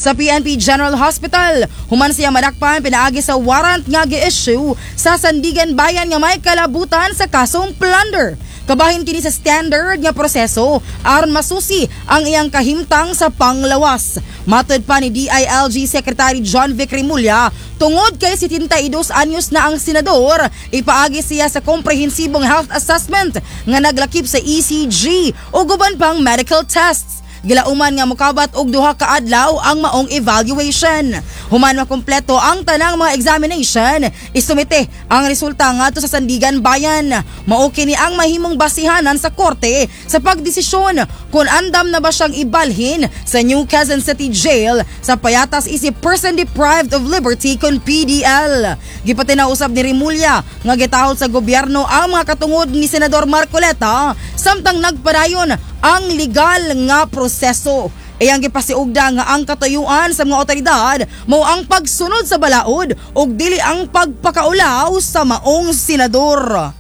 Sa PNP General Hospital. Human siya madakpan pinaagi sa warrant nga gi-issue sa Sandiganbayan nga may kalabutan sa kasong plunder. Kabahin kini sa standard nga proseso aron masusi ang iyang kahimtang sa panglawas. Matod pa ni DILG Secretary John Vic Remulla, tungod kay 72 anyos na ang senador, ipaagi siya sa komprehensibong health assessment nga naglakip sa ECG ug uban pang medical tests. Gilauman nga mokabat og 2 ka adlaw ang maong evaluation. Human makumpleto ang tanang mga examination, isumite ang resulta ngadto sa Sandiganbayan. Mao kini ang mahimong basihanan sa korte sa pagdesisyon kung andam na ba siyang ibalhin sa New Quezon City Jail sa payatas isip person deprived of liberty kon PDL. Gipatinaw usab ni Remulla nga gitahol sa gobyerno ang mga katungod ni Senador Marcoleta samtang nagpadayon ang legal nga proseso. Iyang gipasiugda nga ang katuyuan sa mga otoridad mao ang pagsunod sa balaod ug dili ang pagpakaulaw sa maong senador.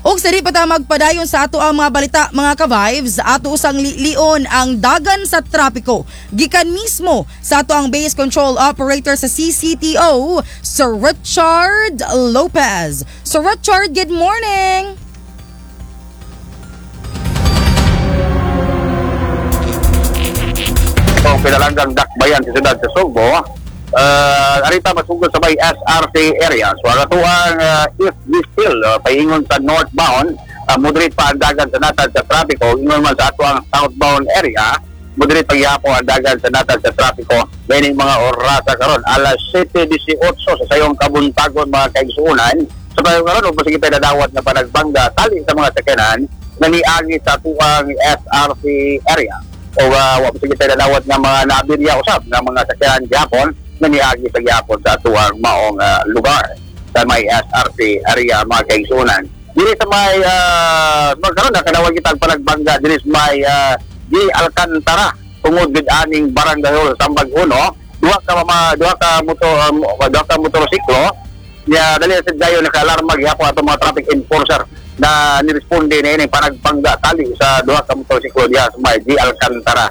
Ug sa di pa ta magpadayon sa ato ang mga balita, mga ka-vibes, ato usang lilion ang dagan sa trapiko. Gikan mismo sa ato ang base control operator sa CCTO, Sir Richard Lopez. Sir Richard, good morning! Itong pinalanggang dakbayan sa siyudad sa Sugbo, arita masugod sa may SRC area. So ang atuang if we still paingon sa northbound, moderate pa ang dagan sa natad sa trapiko. Ingon man sa atuang southbound area, moderate pagyapon ang dagan sa natad sa trapiko. Meaning mga orasa karon alas 7:18 sa sayong kabuntagon, mga kaigsuonan. Sa payo karon ug sige nadawat nga panagbangga tali sa mga sakyanan na niagi sa atuang SRC area. O wa pa sige nadawat nga mga naabirya usab nga mga sakyanan gyapon na niagi sa gyapon sa atuang maong lugar sa may SRC area, mga kaigsuonan. Diri sa may magkaroon nakadawat kita ang panagbangga diri sa may G. Alcantara tungod gid aning barangay hall sa Sambag Uno, duha ka motorsiklo niya. Dali sa gayo naka-alarma gihapon atong mga traffic enforcer na niresponde na ining panagbangga tali sa duha ka motorsiklo diha sa may G. Alcantara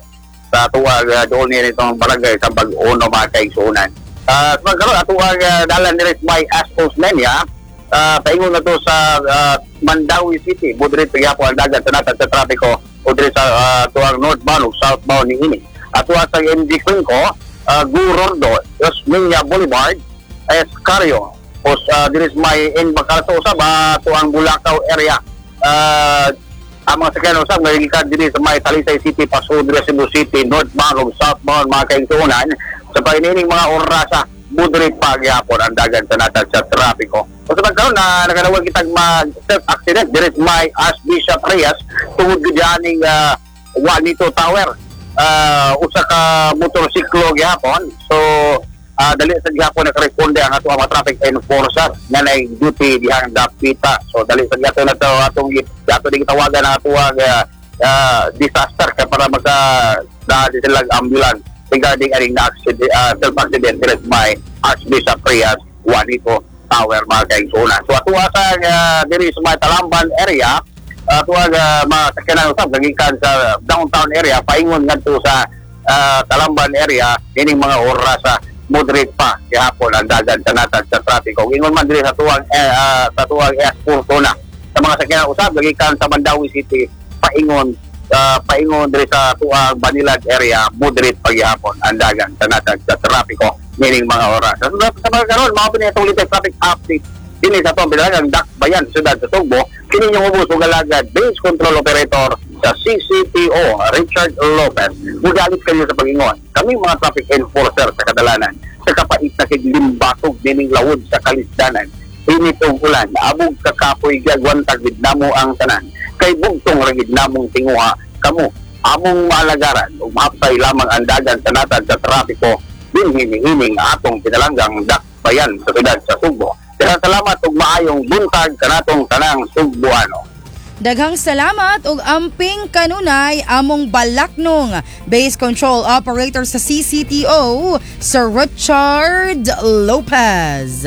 sa tuwag doon niya itong barangay sa Bag-Uno, mga kaigsuonan. Sa magkaroon atuwag dalan diri sa may S. Osmeña paingon na to sa Mandaue City, moderate pagyapon ang dagan sa natad sa trapiko o diri sa tuwang northbound o southbound ni ini. Atuwa sa MG Cuenco, Gurordo, Osmeña Boulevard, Escario, o sa diri sa may N. Bacalso usab tuwang Bulacau area. Ang mga sakyan usab ngayon diri sa may Talisay City pasud diri sa Cebu City northbound o southbound, mga kaigsuonan, sa painining mga orasa moderate pa gyapon ang dagan sa natad sa trapiko. O sa pagkaroon na nakadawag kitang mag self-accident diri sa may Archbishop Reyes tungod gud aning Juanito Tower. Usa ka motorsiklo gihapon. So dali sa gihapon nakaresponde ang ato ang mga traffic enforcer nga nay duty dihang dapita. So dali sa gihapon na to atong ato di gitawagan ang ato ang disaster kay para maka dali sila ambulance regarding aning na accident, self-accident diri sa may Archbishop Reyes Juanito Tower, mga kaigsuonan. So ato sa diri sa may Talamban area, ato ang mga sakyanan usab gagikan sa downtown area paingon ngadto sa Talamban area kining mga orasa moderate pa gihapon ang dagan sa natad sa trapiko. Ingon man diri sa tuwang S Fortuna sa mga sakyanan usab gagikan sa Mandaue City paingon diri sa tuwang Banilad area, moderate paghihapon ang dagan sa natad sa trapiko meaning mga oras. Sa mga karon mao pini itong latest traffic update dinhi sa atong bilagang dakbayan siyudad sa Sugbo. Kini yung ubos ug alagad base control operator sa CCTO, Richard Lopez. Mugalit kayo sa pag-ingon. Kami mga traffic enforcer sa kadalanan sa kapait na kiglimbatog nining lawod sa kalisdanan. Init og ulan, abog kakapoy gagwantag gid namo ang tanan. Kay bugtong ra gid namong tinguha kamo among maalagaran ug mahapsay lamang ang dagan sa natad sa trapiko dinhi niining atong pinalanggang dakbayan sa siyudad sa Sugbo. Daghang salamat ug maayong buntag kanatong tanang Sugboano. Daghang salamat ug amping kanunay among balaknong base control operator sa CCTO, Sir Richard Lopez.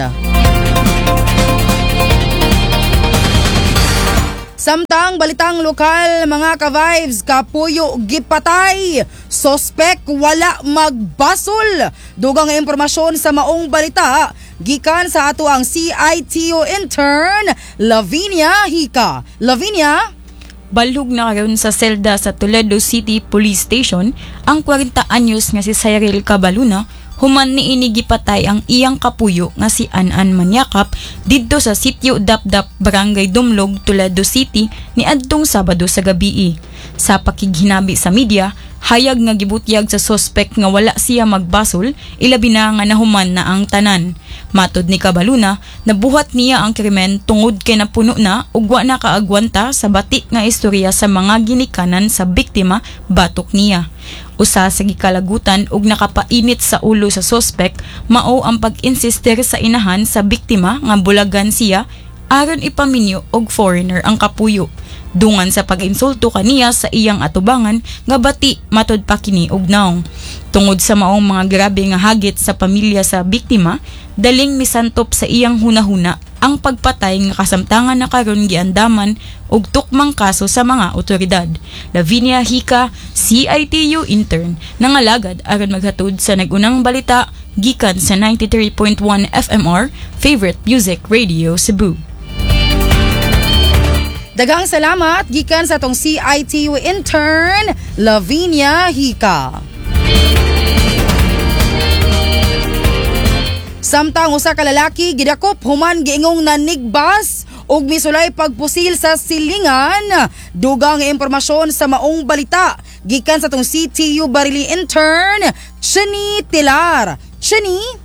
Samtang balitang lokal, mga ka-vibes, kapuyo gipatay, sospek wala magbasol. Dugang impormasyon sa maong balita gikan sa ato ang CITU intern Lavinia Hika. Lavinia? Balhog na karon sa selda sa Toledo City Police Station ang 40 anyos nga si Cyril Cabaluna human niini gipatay ang iyang kapuyo nga si An-An Manyakap didto sa sitio Dapdap, Barangay Dumlog, Toledo City niadtong Sabado sa gabii. Sa pakighinabi sa media, hayag nga gibutyag sa sospek nga wala siya magbasol, ilabi na nga nahuman na ang tanan. Matod ni Cabaluna, nabuhat niya ang krimen tungod kay napuno na ug wa na kaagwanta sa bati nga istorya sa mga ginikanan sa biktima batok niya. Usa sa gikalagutan ug nakapainit sa ulo sa sospek mao ang pag-insister sa inahan sa biktima nga bulagan siya aron ipaminyo og foreigner ang kapuyo. Dungan sa pag-insulto kaniya sa iyang atubangan nga bati matod pa kini og naong. Tungod sa maong mga grabe nga hagit sa pamilya sa biktima, daling misantop sa iyang hunahuna ang pagpatay nga kasamtangan na karon giandaman og tukmang kaso sa mga otoridad. Lavinia Hika, CITU intern, nangalagad aron maghatod sa nag-unang balita gikan sa 93.1 FMR, Favorite Music Radio Cebu. Daghang salamat gikan sa atong CITU intern Lavinia Hika. Samtang usa ka lalaki gidakop human giingong nanigbas ug misulay pagpusil sa silingan. Dugang impormasyon sa maong balita gikan sa atong CTU Barili intern Chini Tilar. Chini?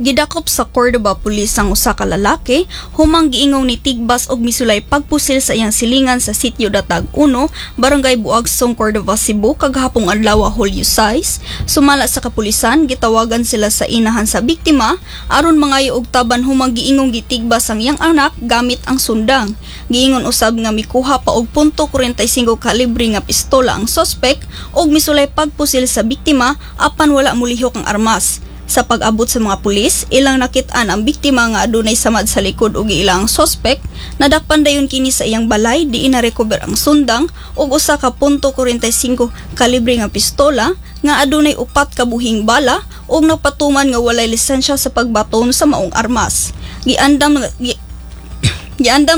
Gidakop sa Cordoba Police ang usa ka lalaki humang giingong ni tigbas og misulay pagpusil sa iyang silingan sa sitio Datag 1, Barangay Buagsong, Cordova, Cebu kagahapong adlaw, Hulyo 6. Sumala sa kapulisan, gitawagan sila sa inahan sa biktima aron mangayo og taban humang giingong gitigbas ang iyang anak gamit ang sundang. Giingon usab nga mikuha pa og .45 kalibre nga pistola ang sospek og misulay pagpusil sa biktima apan wala molihok ang armas. Sa pag-abot sa mga pulis, ilang nakit-an ang biktima nga adunay samad sa likod ug ilang sospek. Nadakpan dayon kini sa iyang balay, diin na-recover ang sundang ug usa ka .45 kalibre nga pistola nga adunay 4 ka buhing bala ug napatuman nga walay lisensya sa pagbaton sa maong armas. Giandam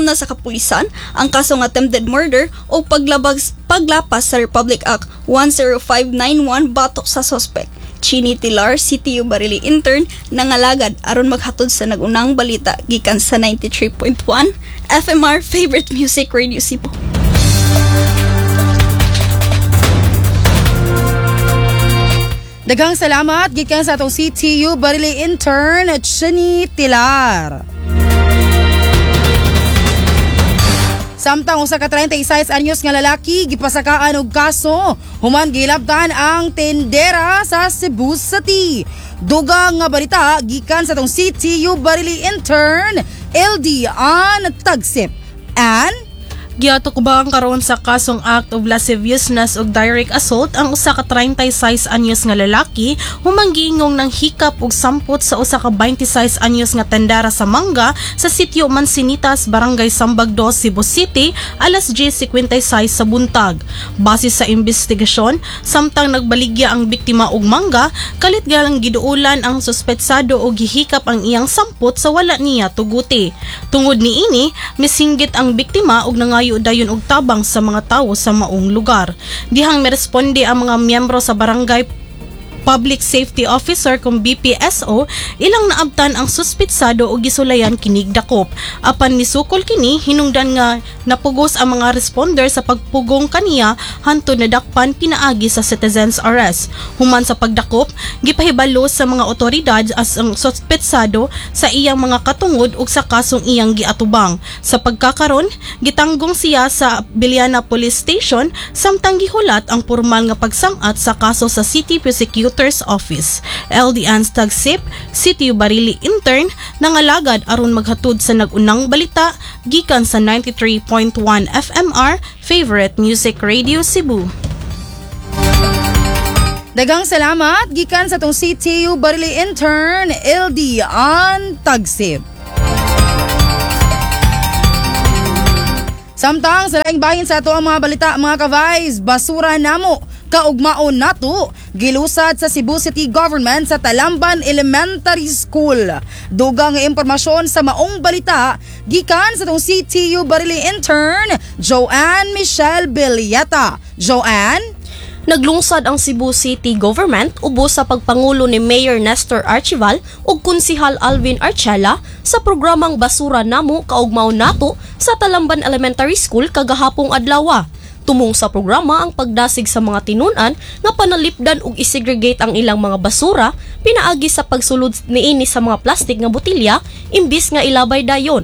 na sa kapulisan ang kasong attempted murder o paglapas sa Republic Act 10591 batok sa sospek. Chini Tilar, CTU Barili intern, nangalagad aron maghatod sa nag-unang balita gikan sa 93.1 FMR Favorite Music Radio Cebu. Daghang salamat gikan sa atong CTU Barili intern Chini Tilar. Samtang usa ka 36 anyos nga lalaki gipasakaan og kaso human gilabtan ang tendera sa Cebu City. Dugang nga balita gikan sa atong CTU Barili intern LD Ann Tagsip. Ann? Giatukbang karon sa kasong act of lasciviousness ug direct assault ang usa ka 36 anyos nga lalaki humang giingong ng hikap ug sampot sa usa ka 26 anyos nga tendera sa mangga sa sitio Mansinitas, Barangay Sambag 2, Cebu City alas 10:56 sa buntag. Base sa investigasyon, samtang nagbaligya ang biktima og mangga, kalit galang giduulan ang suspetsado og gihikap ang iyang sampot sa wala niya tuguti. Tungod niini, misinggit ang biktima og nangayo dayon og tabang sa mga tawo sa maong lugar. Dihang miresponde ang mga miyembro sa Barangay Public Safety Officer kung BPSO, ilang naabtan ang suspitsado o gisulayan kinig dakop. Apan misukol kini, hinungdan nga napugos ang mga responder sa pagpugong kaniya hantod nadakpan pinaagi sa citizens arrest. Human sa pagdakop, gipahibalo sa mga otoridad as ang suspitsado sa iyang mga katungod ug sa kasong iyang giatubang. Sa pagkakaron, gitanggong siya sa Biliana Police Station samtang gihulat ang formal nga pagsangat sa kaso sa City Prosecutor's Office. LD Ann Tagsip, CTU Barili intern, nangalagad aron maghatod sa nag-unang balita gikan sa 93.1 FMR Favorite Music Radio Cebu. Daghang salamat gikan sa tong CTU Barili intern LD Ann Tagsip. Samtang sa laing bahin sa ato ang mga balita, mga ka-vibes, "Basura Namo, Kaugmaon Nato," gilusad sa Cebu City Government sa Talamban Elementary School. Dugang nga impormasyon sa maong balita gikan sa atong CTU Barili intern Joanne Michelle Villeta. Joanne? Naglungsad ang Cebu City Government ubos sa pagpangulo ni Mayor Nestor Archival ug Konsihal Alvin Archela sa programang "Basura Namo, Kaugmaon Nato" sa Talamban Elementary School kagahapong adlaw. Tumong sa programa ang pagdasig sa mga tinunan nga panalipdan ug isegregate ang ilang mga basura pinaagi sa pagsulod niini sa mga plastic nga botilya imbis nga ilabay dayon.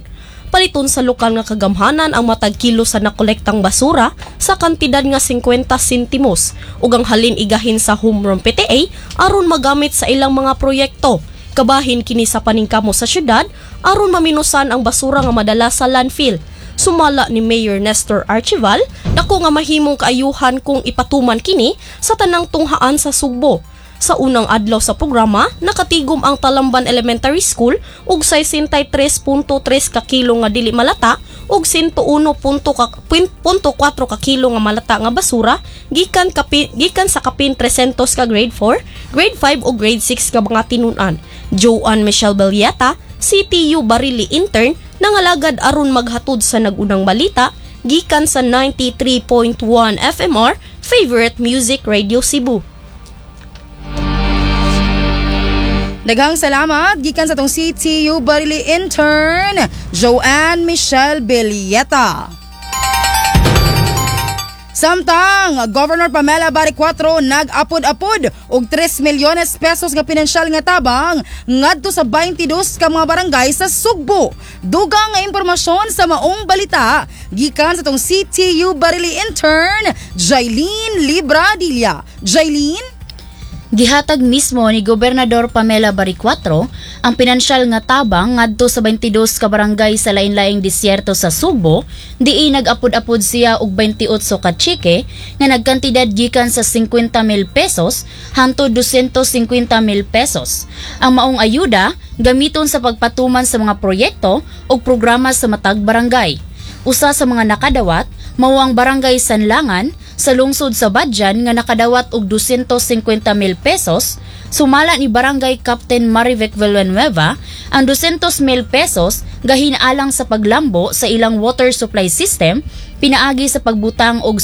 Paliton sa lokal nga kagamhanan ang matag kilo sa nakolektang basura sa kantidad nga 50 sentimos ug ang halin igahin sa homeroom PTA aron magamit sa ilang mga proyekto. Kabahin kini sa paningkamo sa syudad aron maminusan ang basura nga madala sa landfill. Sumala ni Mayor Nestor Archival, dako nga mahimong kaayuhan kung ipatuman kini sa tanang tunghaan sa Sugbo. Sa unang adlaw sa programa, nakatigom ang Talamban Elementary School og 63.3 ka kilo nga dili malata ug 101.4 ka kilo nga malata nga basura gikan sa kapin 300 ka grade 4, grade 5 ug grade 6 ka mga tinunan. Joanne Michelle Belieta, CTU Barili intern, nangalagad aron maghatod sa nag-unang balita gikan sa 93.1 FMR, Favorite Music Radio Cebu. Daghang salamat gikan sa atong CTU Barili intern Joanne Michelle Villeta. Samtang Governor Pamela Baricuatro nag-apod-apod og 3 milyones pesos nga pinansyal nga tabang ngadto sa 22 ka mga barangay sa Sugbo. Dugang nga impormasyon sa maong balita gikan sa atong CTU Barili intern Jailene Libradilla. Jailene? Gihatag mismo ni Gobernador Pamela Baricuatro ang pinansyal nga tabang ngadto sa 22 ka barangay sa lain-laing disyerto sa Sugbo, diin nag-apod-apod siya og 28 ka tseke nga nagkantidad gikan sa 50 mil pesos hangtod 250 mil pesos. Ang maong ayuda gamiton sa pagpatuman sa mga proyekto ug programa sa matag barangay. Usa sa mga nakadawat mao ang Barangay Sanlangan sa lungsod sa Badian nga nakadawat og 250 mil pesos. Sumala ni Barangay Captain Marivic Villanueva, ang 200 mil pesos gahin alang sa paglambo sa ilang water supply system pinaagi sa pagbutang og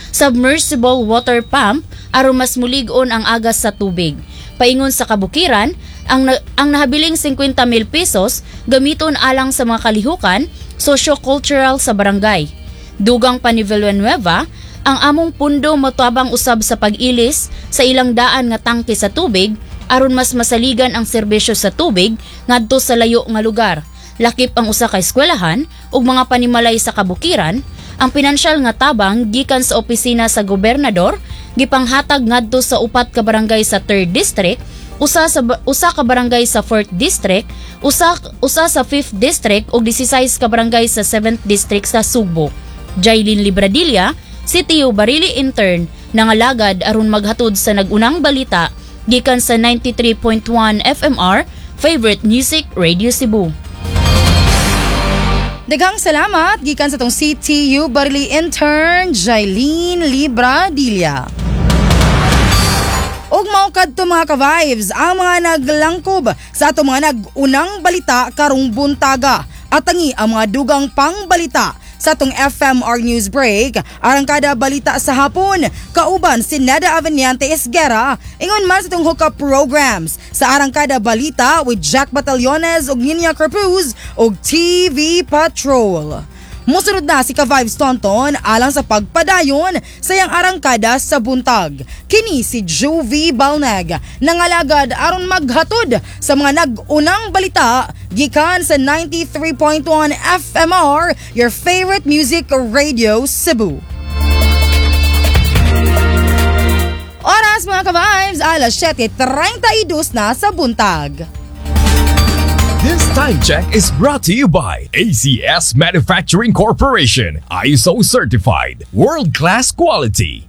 submersible water pump aron mas mulig-on ang agas sa tubig. Paingon sa kabukiran, ang nahabiling 50 mil pesos gamiton alang sa mga kalihukan socio-cultural sa barangay. Dugang pa ni Villanueva, "Ang among pundo motabang usab sa pag-ilis sa ilang daan nga tangke sa tubig aron mas masaligan ang serbisyo sa tubig ngadto sa layo nga lugar. Lakip ang usa ka eskwelahan ug mga panimalay sa kabukiran." Ang pinansyal nga tabang gikan sa opisina sa gobernador gipanghatag ngadto sa upat ka barangay sa 3rd District, usa ka barangay sa 4th District, usa sa 5th District ug 16 ka barangay sa 7th District sa Sugbo. Jailene Libradilla, CTU Barili intern, nangalagad aron maghatod sa nag-unang balita gikan sa 93.1 FMR, Favorite Music Radio Cebu. Daghang salamat gikan sa atong CTU Barili intern Jailene Libradilla. Ug mao kadto, mga ka-vibes, ang mga naglangkob sa atong mga nag-unang balita karong buntaga. Atangi ang mga dugang pangbalita sa atong FMR News Break, Arangkada Balita sa Hapon, kauban si Neda Aveniante Esguera, ingon man sa atong hookup programs sa Arangkada Balita with Jack Batallones ug Ninya Corpuz ug TV Patrol. Musunod na si Ka-Vibes Tonton alang sa pagpadayon sa iyang arangkada sa buntag. Kini si Juvie Balneg, nangalagad aron maghatod sa mga nag-unang balita gikan sa 93.1 FMR, your favorite music radio Cebu. Oras, mga ka-vibes, alas 7:32 na sa buntag. This time check is brought to you by ACS Manufacturing Corporation, ISO certified, world-class quality.